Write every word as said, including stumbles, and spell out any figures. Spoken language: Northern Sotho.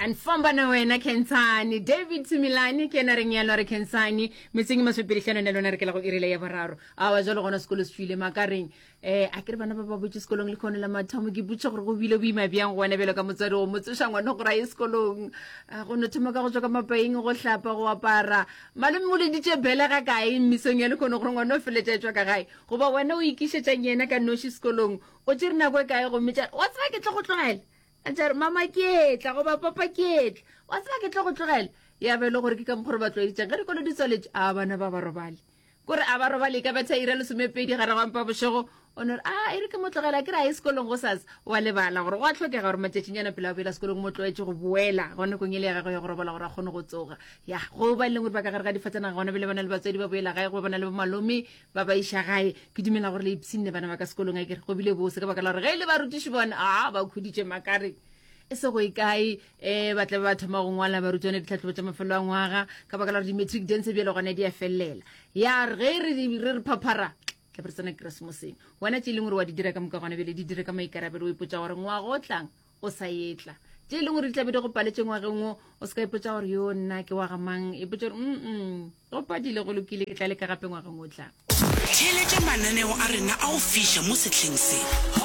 Anfamba na wena Khensani David Milani ke yena reng yalo re Khensani metseng e masomepedi hlano ne lona re ke la go irile ya boraro awa jalo gona sekolo se tswile makareng eh a ke re bana ba ba botse sekolong le kgone la mathomo ke botse gore go bile boima bjang go wena bjalo ka motswadi go mo tsoša ngwana gore a ye sekolong A go no thoma ka go tswa ka mapaing go hlapa go apara malome o leditše bele ga kae mmisong ya lekgono gore ngwana o feletša e tswa ka gae goba wena o ikišetšang yena ka noši sekolong o tšere nako e kae gomme tša wa tseba ke tlo go tlogela a tša re mama ke etla goba papa ke etla wa tseba ke tlo go tlogela ya be e le gore ke ka mokgwa re ba tlwaeditšeng ge dikolo di tswaletše a bana ba ba robale kore a ba robale e ka betha ira lesomepedi gare ga mpa bošego o no re a e re ke mo tlogela ke re a ye sekolong go sasa wa lebala gore go a tlhokega gore matšatšinyana pele a boela sekolong mo tlwaetše go boela gone kong e le ya gagwe ya go robala gore a kgone go tsoga ya go ba e leng gore ba ka gare ga difatanaga gona bele ba na le batswadi ba boela gae go ba na le bomalome ba ba iša gae ke dumela gore le ipshinne bana ba ka sekolong a kere go bile bose ka baka la gore ge e le barutiši bona a ba khuditše makare e se go e kae um ba tla be ba thoma go ngwala barutwana ditlhatlhobo tša mafelo a ngwaga ka baka la gore di-matric dance bjale gona di a felelela ya re ge re re re phaphara tla be re tsena keresemoseng wena tše e leng gore wa di dira ka moka gona bjale di dire ka maikarabelo o ipotsa gore ngwaga o tlang o sa etla tše e leng gore di tlabe di go paletše ngwageng wo o se ka ipotsa gore yo nna ke wa ga mang ipotsa gore mm go padile go lokile ke tla leka gape ngwageng o tlang Theeletša mananeo a rena a go fiša mo sehleng se.